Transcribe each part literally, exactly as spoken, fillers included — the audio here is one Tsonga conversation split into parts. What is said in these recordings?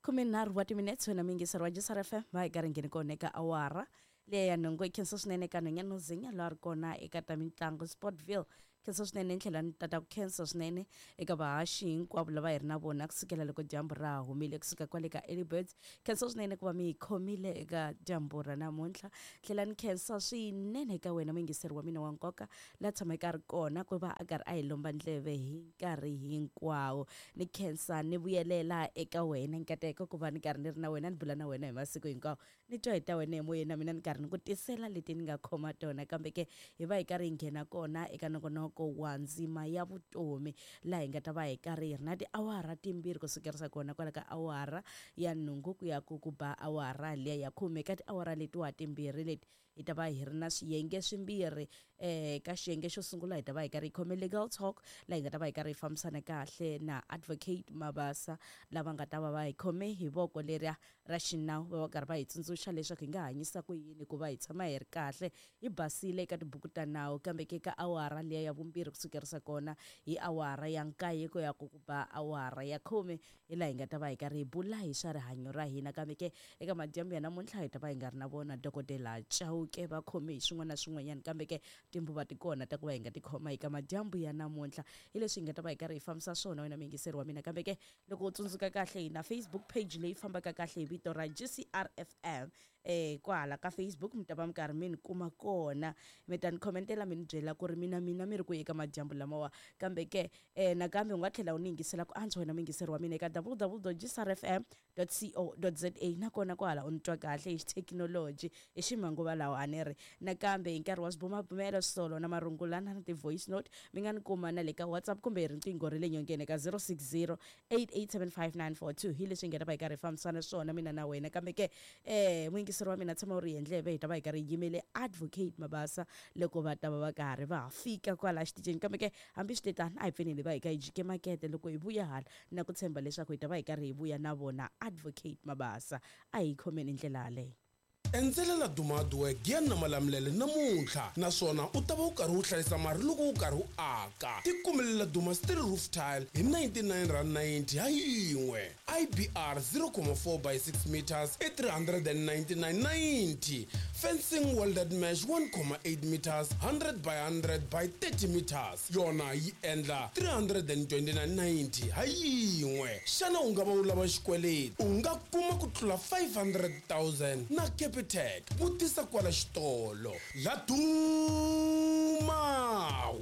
Khumenharhu wa timinetse, wena muyingiseri wa G C R F M, va hi karhi ngheni kona eka awara leya ya nhungu. Hi khensa swinene eka nhwenya Zinya loyi a ri kona eka ta mitlangu, Sportville. Khensa swinene, ni tlhela ni tata ku khensa swinene eka vahaxi hinkwavo lava hi ri na vona kusukela loko dyambu ra ha humile, kusuka kwale ka Early Birds. Khensa swinene ku va mi hi khomile eka dyambu ra namuntlha. Tlhela ni khensa swinene eka wena muyingiseri wa mina wa nkoka la tshameke a ri kona ku va a karhi a hi lomba ndleve hi nkarhi hinkwawo. Ni khensa ni vuyelela eka wena nkateko ku va ni karhi ni ri na wena, ni bula na wena hi masiku hinkwawo, ni twa hi ta wena emoyeni, na mina ni karhi ni ku tisela leti ni nga khoma tona. Kambe ke hi va hi karhi hi nghena kona eka nongonoko wa Ndzima ya Vutomi, laha hi nga ta va hi karhi hi ri na tiawara timbirhi, ku sukerisa kona kwala ka awara ya nhungu ku ya ku ku ba awara liya ya khume. Ka tiawara letiwa timbirhi leti hi ta va hi ri na swiyenge swimbirhi. eh ka xiyenge xo sungula hi ta va hi karhi hi khome Legal Talk, laha hi nga ta va hi karhi hi fambisana kahle na Advocate Mabasa, lava nga ta va va hi khome hi voko leriya ra xinawu, va va karhi va hi tsundzuxa leswaku hi nga hanyisa ku yini ku va hi tshama hi ri kahle, hi basile eka tibuku ta nawu. Kambe ke ka awara liya ya vumbirhi, kusukerisa kona hi awara ya nkaye ku ya ku ku ba awara ya khume, hi laha hi nga ta va hi karhi hi bula hi swa rihanyo ra hina. Kambe ke eka madyambu ya namuntlha hi ta va hi nga ri na vona Dokodela Chauke, va khome hi swin'wana na swin'wanyana. Kambe ke timbuva ti kona ta ku va hi nga ti khoma eka madyambu ya namuntlha, hi leswi hi nga ta va hi karhi hi fambisa swona, wena muyingiseri wa mina. Kambe ke loko u tsundzuka kahle, hi na Facebook page leyi fambaka kahle hi vito ra G C R F M. eh kwahala ka Facebook mi ta va mi karhi mi ni kuma kona, mi ta ni khomentela, mi ni byela ku ri mina mina mi ri ku eka madyambu lamawa. Kambe ke eh nakambe u nga tlhela u ni yingisela ku antswa, wena muyingiseri wa mina, eka W W W G C R F M co za, nakona kwahala u ni twa kahle hi xithekinoloji, hi ximanguva lawa a ni ri. Nakambe hi nkarhi wa swibumabumelo, solo na marungulana na ti-voice note, mi nga ni kuma na le ka WhatsApp kumbe hi riqingho ra le nyongeni ka zero six zero eight eight seven five nine four two. Hi leswi hi nga ta va hi karhi hi fambisana swona mina na wena. Kambe ke eh muyingiseri wa mina, tshama u ri endleve, hi ta va hi karhi hi yimele Advocate Mabasa loko va ta va va karhi va ha fika kwala xitichini. Kambe ke hambi swi tetano, a hi pfuneni va hi ka hi jike makete. Loko hi vuya hala, na ku tshemba leswaku hi ta va hi karhi hi vuya na vona Advocate Mabasa. A hi khomeni ndlela yaleyo. Endzela Laduma Hardwork Giyani na Malamulele namuntlha, naswona u ta va u karhi u hlayisa mali loko u karhi u aka. Tikumele Laduma steel roof tile hi ninety-nine rand ninety ha yin'we, I B R zero point four by six meters i three hundred ninety-nine ninety, fencing welded mesh one point eight meters, one hundred by one hundred by thirty meters, yona yi endla three hundred twenty-nine ninety ha yin'we. Xana u nga va u lava xikweleti? U nga kuma ku tlula five hundred thousand na Capitec. Vutisa kwala xitolo. Laduma,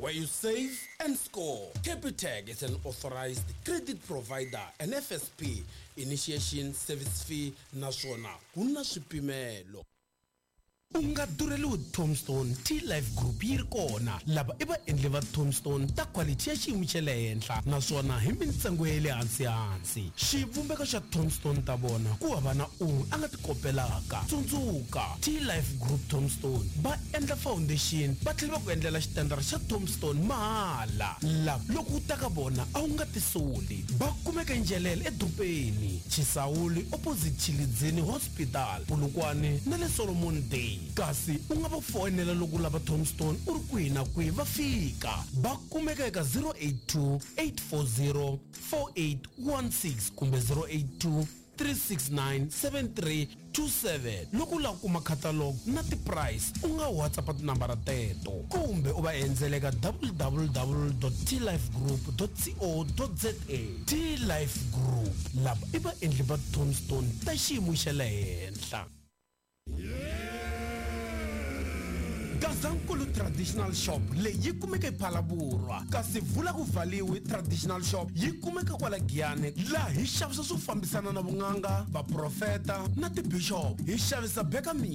where you save and score. Capitec is an authorized credit provider and F S P. Initiation service fee naswona ku na swipimelo. U nga durheliwi tombstone, T Life Group yi ri kona. Lava i vaendli va tombstone ta quality ya xiyimo xa le henhla, naswona hi mintsengo ya le hansi hansi. Xivumbeko xa tombstone ta vona ku hava na un'we a nga ti kopelaka. Tsundzuka, T Life Group tombstone va endla foundation, va tlhela va ku endlela xitandara xa tombstone mahala. Lava loko u ta ka vona a wu nga tisoli. Va kumeka Ndzhelele edorobeni, Chisawuli opposite Chilidzini Hospital, Polokwane na le Solomon Day. Kasi u nga va foyinela loko u lava tombstone u ri kwihi na kwihi, va fika. Va kumeka eka zero eight two eight four zero four eight one six kumbe zero eight two three six nine seven three two seven. Loko u lava ku kuma catalog na ti-price, u nga WhatsApp tinambara teto kumbe u va endzela eka W W W tlifegroup co za. T Life Group, lava i vaendli va tombstone ta xiyimo xa le henhla. Gazankulu Traditional Shop leyi yi kumeka ePhalaborwa, kasi Vula ku Valiwi Traditional Shop yi kumeka kwala Giyani, laha hi xavisa swo fambisana na vun'anga, vaprofeta na tibishop. Hi xavisa beka.